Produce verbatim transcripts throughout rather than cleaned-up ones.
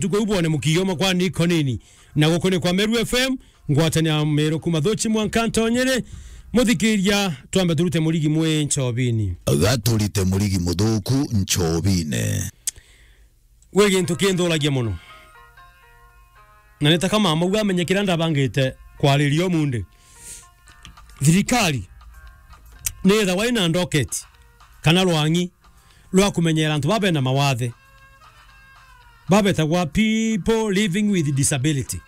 Tuko ubone mukio makwa ni konini. Na guku ni kwa Meru F M, ngwatania Meru kuma Thuchi mwanka Ntonyere. Muthikiria, twambe turute murigi mwi nchobini. Gaturite murigi muthuku nchobine. Gwi gintu kinthuragia mono. Na ni ta kama mauga amenye kiria ndabangite kwariria umundi. Thirikari ni ethagwa ina ndocket kana rwang'i rwa kumenyera antu baba bena mawathe. Babetagwa people living with disability.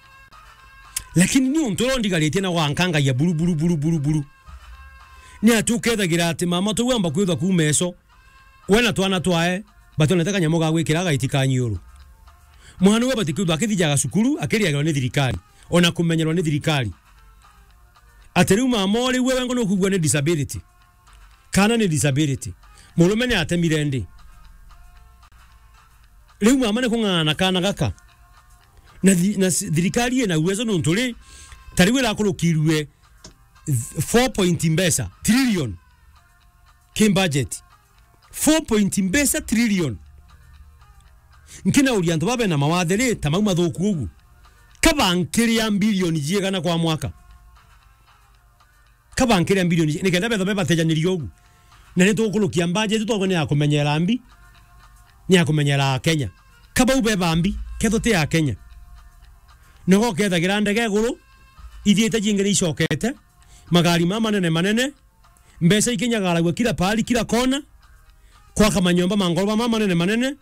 Lakini ni untu uria undigaritie na gwankangagia buru, buru, buru, buru, buru. Ni ati ukethagira ati mama tu wamba kwithwa kuuma eso, we na twana twae, batonete kanyamu ga gwikira gaiti ka nyiuru. Mwana uwe bati kwithwa akithijaga cukuru, akiriagirwa ni thirikari, ona kumenyerwa ni thirikari. Ati riu mama uri we wengo nukugua ni disability. Kana ni disability. Murume ni atemire ndi. Riu mama ni kung'ang'ana na kana gaka. Na thi-, na si-, thirikari ina uwezo nuntu ri, ta riu irakurukirue th-, four point mbeca, trillion. Ki budget. Four point mbeca trillion. Nkinauria antu baba bena mawathe ri, ta mau mathuku ugu. Kabankiria bilioni jiigana kwa mwaka? Kabankiria bilioni ji-, nikenda betha bebatejaniria ugu. Na ni tukurukia budget twakwa ni ya kumenyera mbi, ni ya kumenyera Kenya. Kabau beba mbi, ketho ti ya Kenya. Nogo kethagira ndege iguru, ithiite jingi ni icokete, magari ma manene manene, mbeca ikinyagaragua kila pahali, kila kona, kwaka manyomba ma ngoroba ma manene manene,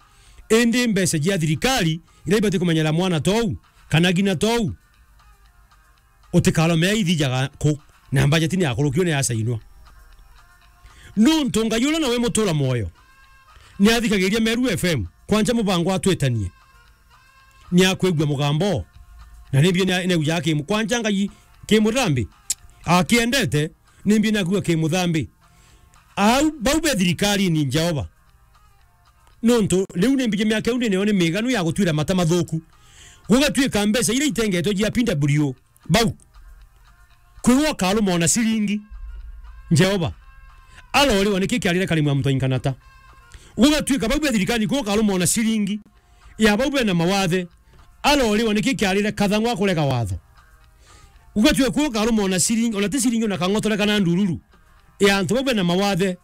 indi mbeca cia thirikari iria ibati kumenyera mwana tou, kana ngina tou, utikaromea ithijaga ku, na budget ni yakurukio ni yacainwa. Nuntu Ngai uria nawe mutura mwoyo, ni athikagiria Meru F M, kwanja mubango atwitanie. Ni akwigua mugambo, na nimbi ni, ni aujaga ki mu-, kwanja Ngai ki muthambi, akiendete, nimbi ni akwigua ki muthambi. Au, bau be thirikari ni Jehova. Nuntu, riu ni mbiji miaka iu ndi nayo ni miganu ya gutwira mata mathuku. Gugatuika mbeca iria itengetwe jia P W, bau. Kwi we ukaruma ona ciringi. Jehova. Aroriwa niki kiarire kari mwa mutwa inkanata. Gugatuika bau be thirikari kwi we ukaruma ona ciringi. Ya bau bena mawathe. Aroriwa niki kiarire kathang'wa kurega watho. Gugatuika kwi we ukaruma ona ciringi, ona ti ciringi ona kang'otore kana ndururu. Ya antu bau bena mawathe.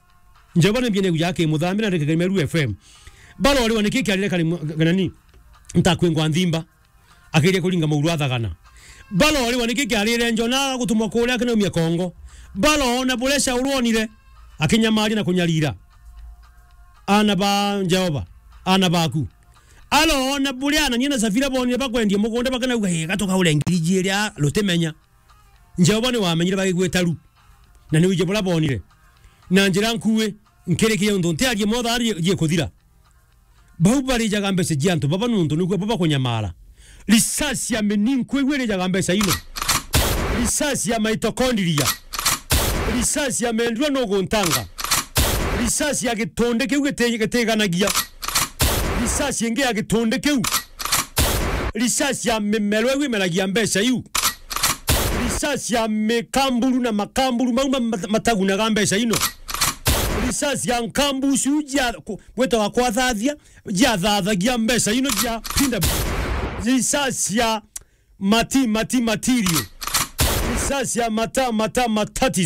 Jehova ni mbia ni ujaga ki muthambi na ndikagiri Meru F M. Baroriwa niki kiarire kari mwa-, kana ni? Ntakwingwa nthimba. Akiria kuringa mauru athagana. Baroriwa niki kiarire Jona gutumwa kuria akinaumia Kongo. Barona buria Shaulu onire, akinyamaria na kunyarira. Ana ba Jehova, ana baku. Arona buria Anania na Safira bonire bakwendia mugunda bakanauga, "Ii, gatukaure ngiri jiiri a rutimenya." Jehova ni wamenyire bagigwita ru. Na ni wije buria bonire. Na njira nkui, nkirikia untu ntiarie motha arie jie kuthira. Bau barijaga mbeca cia antu baba nuntu niguo baba kunyamara. Risasi ya mininko igwe irijaga mbeca ino. Risasi ya mitochondria. Risasi ya mendua nuguntanga. Risasi ya gitunde kiu giti-, gitiganagia. Risasi ingi ya gitunde kiu. Risasi ya mimero iu imeragia mbeca iu. Risasi ya mikamburu na makamburu mau ma-, mat-, matagunaga mbeca ino. Risasi ya nkambu iu cia ku-, gwitawa kwathathia, jiathathagia mbeca ino jia pinda. Risasi ya mati, mati, material. Risasi ya mata, mata, matati.